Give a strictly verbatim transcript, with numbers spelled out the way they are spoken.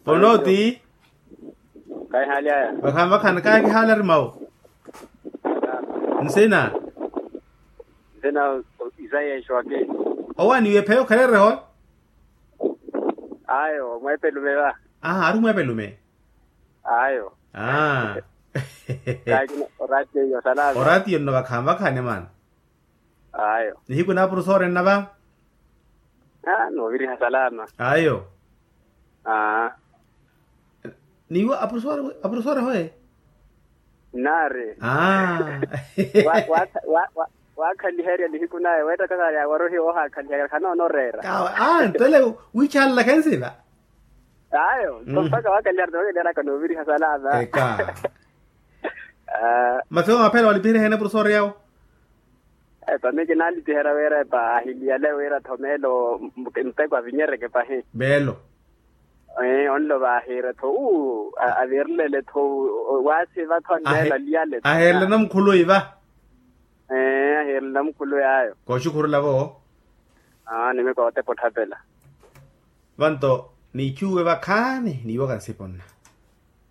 Ponooti. Kaihaali aya. Vakhanvakhani kaakihaalari mawu. Nsina. Nsina. Isayeexo ake. Owa niwe pheya okhaleriho. Ayo mweepelume va. Aha ari mweepelume. Ayo. Aa. Kaakina oratiyo salama. Oratiyo nno vakhanvakhani maana. Ayo. Nihiku na apurusoori enna va. Aa nooviriha salama. Ayo. Aa. Niiwo apurusoori apurusoori hoye. Nnaari. Aa. Wa- wa- wa- wa- waakhaliherya nihiku naye weettaka saari awarohiwa ohaakhaliherya khanoona oreera. Aa ntole. Wiichahalala khensiva. Ayo. Mpakha waakhaliherya nookhaliheryaka nooviriha salama. Eka. Mathewo maphela walipiheriha ene apurusoori yawo. Epa miki naalitiherya wira epa ahiliyale wira tho meelo. Mpeko avinyereke pahi. Meelo. Onlo vaahiire tho uu. Avirilele tho. Waasiva tho nneelo aliyale tho aheerele namukhuluwi va. Aheerele namukhuluwi ayo. Kooxukhurula vo. Nimiko otepa otthapela. Vanto niichuwe vakhaani niiwoka nsipo nna.